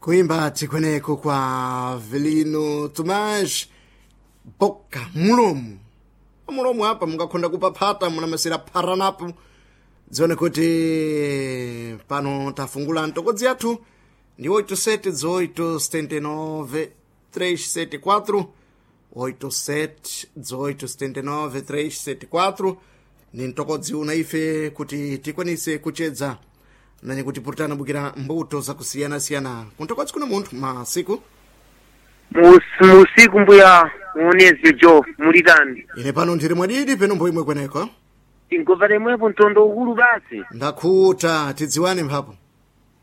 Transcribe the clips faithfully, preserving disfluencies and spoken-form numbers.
Kuimba tikweneko kwa Velino Tomás Boca mulomo mulomo apa mungakhonda kupaphata munamasera pharanapo dzione kuti pano tafungula ntokodzi yathu ndi oito sete dezoito setenta e nove trezentos e setenta e quatro, oito sete dezoito setenta e nove trezentos e setenta e quatro ni mtokodzi una ife kuti tikwanise kuchedza nanye kuti purutana bukira mbuto zakusiyana-siyana kuntokodzi kuna munthu masiku. Mus- musiku mbuya muonezi jo mulitani? Ine pano ndiri mwadidi peno mbo imwe kweneko. Tingova lemwepo mtondo ukulu basi. Ndakhuta, tidziwane mphapo.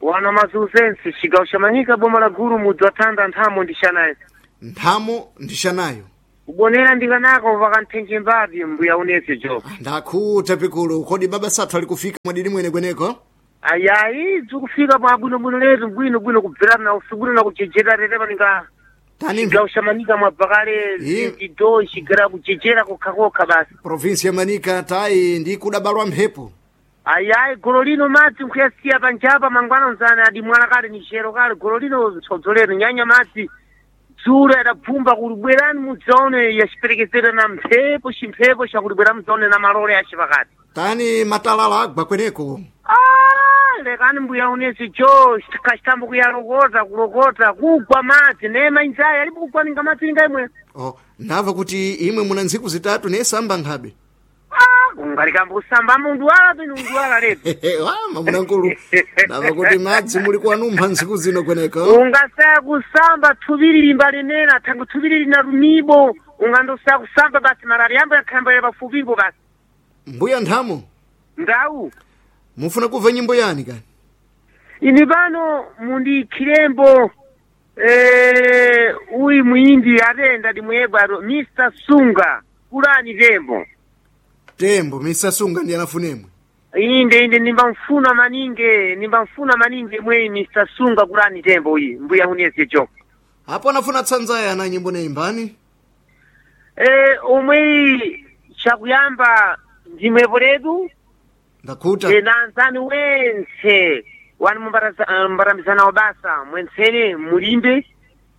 Wana mazuzensi, cigawo ca Manyika, boma la Gulu, mudzi wa Thanda, nthamo ndixanayo. Nthamo ndixanayo. Kubonera ndikanako pakanthenje mbapi, mbuya unezi jo. Ndakhuta pikulu, kodi baba sathu ali kufika mwadidi mwene kweneko? Ayayi, zikufika pa bwinobwino letu, bwinobwino kubverana na usubwino na kujejera tetepa ninga. Tani. Cigawo ca Manika mwabva kale. Ye. Zindido cigara kujejera kokhakokha basi. Provinsi ya Manika tayi ndi kudabalwa mphepo. Ayayi, golo lino madzi nkhuyasiya panjapa mangwana nzana adimwala kale ni chero kale golo lino tsodzo nyanya madzi dzulo adabvumba kuti bwerani mudzaone yaciperekezera na mphepo, chimphepo chakuti bwera mudzaone na malole ace pakati. Tani matalala agwa kweneko? Ah, lekani mbuya unezi jo, kachitambo kuyalokota kulokota kugwa madzi nema inzayi alipo kugwa ninga madzi ninga imwe. Oh, ndamva kuti imwe muna ntsiku zitatu nesamba nkhabe. Ah, kungalikambo kusamba mundu wala pino mundu wala letu. Wama munankulu, ndamva kuti madzi muli kuwanumpha ntsiku zino kweneko. Ungasaya kusamba thuviri limba lenena thangu thuviri lina lumibo, ungandosaya kusamba basi marari yambo yakhamba ya pafupipo basi. Mbuya nthamo. Ndau. Mufuna kubva nyimbo yani kani? Ini pano mundikhilembo eh, uyu muimbi atenda ndimuyebwa ato Mister Sunga, kulani tembo. Tembo misasunga ndi anafunemwe. Inde inde, nimbamfuna maninge, nimbamfuna maninge mweyi Mister Sunga, kulani tembo uyi, mbuya uneze jo. Apo anafuna tsanzaya ana nyimbo neimbani. Eh, omweyi chakuyamba ndimwepo letu. Ndakhuta. Ena anzani wentse wani mumbarambizana basa mwentsene mulimbe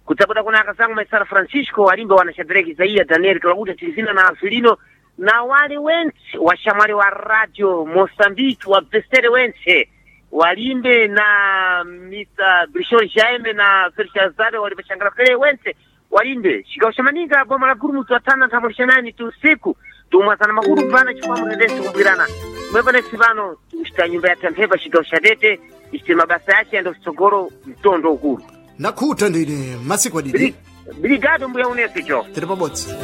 kudzabuda kuna akazangu maisara Francisco alimbe wana Shadrack Isaia Daniel Klakuta Tilizina na Avelino na wale wentse washamwali wa Radio Mozambique wa Bestere wentse walimbe na Mister Brishol Jaime na Felshazare wali pachangala fere wentse walimbe chigawo cha Manika, boma la Guru, watana nthambo tu usiku tumwazana makulu pana chifukwa mutendesi kubwirana mwepanesi pano tikuchita nyumba ya tamphepa chigawo cha Tete ichite mabasa yace yando tsogolo mtondo ukulu. Ndakhuta ndine masiku adidi. Brigado mbuya unesi cho. Tiri pabodzi.